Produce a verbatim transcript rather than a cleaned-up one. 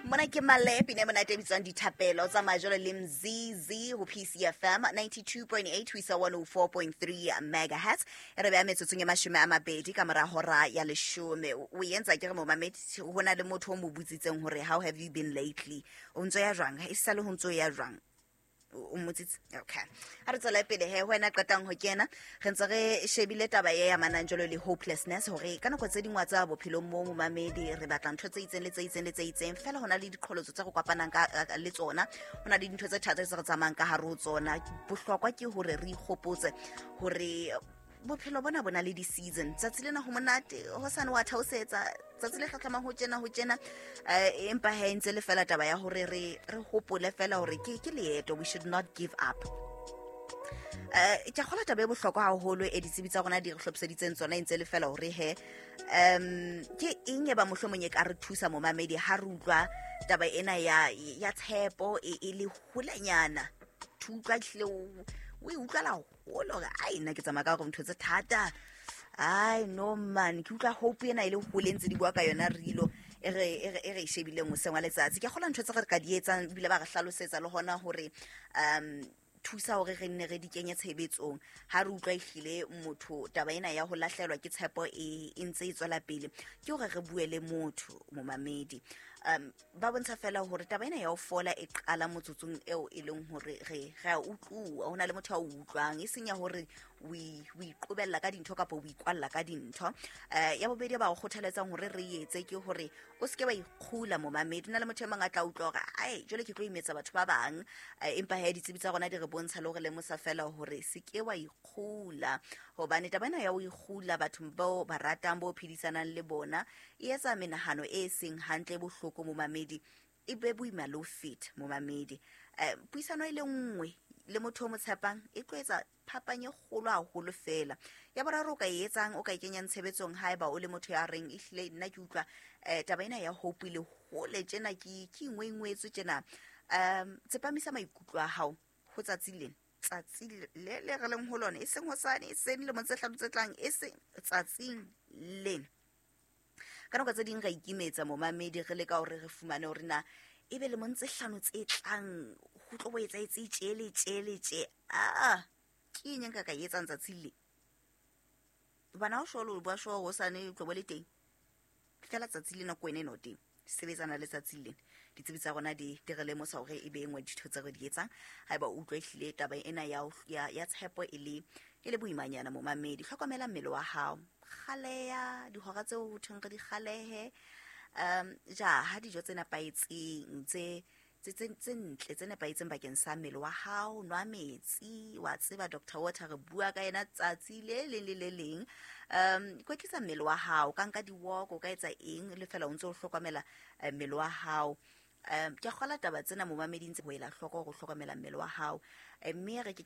Mona ke Malepe ne monate e bitswang Dithapelo tsa majolo le Mzizi ho P C F M ninety-two point eight ho isa one oh four point three megahertz. E re beha metsotsong e mashome a mabedi ka mora hora ya leshome. O entsa ke re momamedi, ho na le motho o mo botsitseng hore how have you been lately, o ntso ya jwang, e sale ho ntso ya jwang, o mmotsitse. Okay, ha re tswela pele he. Ho wena qetang ho kena, re ntse re shebile taba e amanang jalo le hopelessness, hore ka nako tse dingwe tsa bophelong mo momamedi re batla ntho tse itseng le tse itseng le tse itseng, fela ho na le diqholotso tse re kopanang ka le tsona, ho na le dintho tse thata tse re tsamayang ka hare ho tsona. Bohlokwa ke hore re ikgopotse hore bophelo bona bo na le di-season. Tsatsi lena ho monate, hosane wa theosetsa, tsatsi le hlahlamang ho tjena, ho tjena. um empa he ntse le fela taba ya hore re re hopole fela hore ke ke leeto, we should not give up. um ke a kgolwa taba e bohlokwa haholo e ditsebi tsa rona di re hlophiseditseng tsona e ntse le fela hore he um ke eng e ba mohlomong e ka re thusa momamedi ha re utlwa taba ena ya ya tshepo e e le holenyana, thutlwa ehlile o o e utlwala hole hore ai, nna ke tsamaya ka hore ntho tse thata, ai no man, ke utlwa hope ena e le hole ntse di bua ka yona rilo e re e re e re e shebileng hoseng wa letsatsi. Ke kgolwa ntho tse re ka di etsang, ebile ba re hlalosetsa le hona hore um thusa hore re nne re di kenye tshebetsong ha re utlwa ehlile motho taba ena ya ho lahlehelwa ke tshepo e e ntse e tswela pele, ke hore re bue le motho momamedi. um ba bontsha fela hore taba ena ya ho fola e qala motsotsong eo e leng hore re re a utluwa, ho na le motho a o utlwang, e seng ya hore o iqobella ka dintho kapa o ikwalla ka dintho. um ya bobedi ba o kgothaletsang hore re etse ke hore o seke wa ikgula momamedi. Na le motho e mong a tla utlwa hore ai, jwale ke tlo imetsa batho ba bang, empa he ditsebi tsa rona di re bontsha le hore lemosa fela hore se ke wa ikgula, hobane taba ena ya ho ikgula bathong bao ba ratang, bo phedisanang le bona, e etsa menahano e seng hantle, e bohloko momamedi, e be boima le ho feta momamedi. um puisano e le nngwe le motho o mo tshepang e tlo etsa phapang e kgolo haholo fela. Ya boraro o ka e etsang, o ka e kenyang tshebetsong, haeba o le motho ya reng ehlile nna ke utlwa um taba ena ya hope le hole tjena, ke ke ingwengwetswe tjena, um tsepamisa maikutlo a hao ho tsatsi lena, tsatsi le le re leng ho lona, e seng hosane, e seng lemong tse hlano tse tlang, e seng tsatsing lena. Ka nako tse ding ra ikimetsa momamedi, re leka hore re fumane hore na ebe lemong tse hlano tse tlang ho tlo bo etsahetse tje le tje le tje. Aa, ke eng e nka ka e etsang tsatsing le hobane ha o sure o bua sure hosane o tlo bo le teng, fela tsatsi lena ko wena ena o teng, sebetsana le tsatsi lena. Ditsebi tsa rona di di re lemosa hore e be e nngwe ditho tse re di etsang haeba o utlwa ehlile taba ena ya ya ya tshepo e le e le boimanyana momamedi. Hlokomela mmele wa hao, kgaleya dihora tseo ho thweng re di kgalehe, um ja ha dijo tse nepahetseng, tse tse tse tse ntle, tse nepahetseng bakeng sa mmele wa hao, nwa metsi, wa tseba Doctor Water re bua ka yena tsatsi le leng le le leng. um kwetlisa mmele wa hao, ka nka di-walk, o ka etsa eng le fela o ntse o hlokomela eh, mmele wa hao. um ke kgola taba tsena momamedi ntse ho ela hloko hore o hlokomela mmele wa hao, mme re ke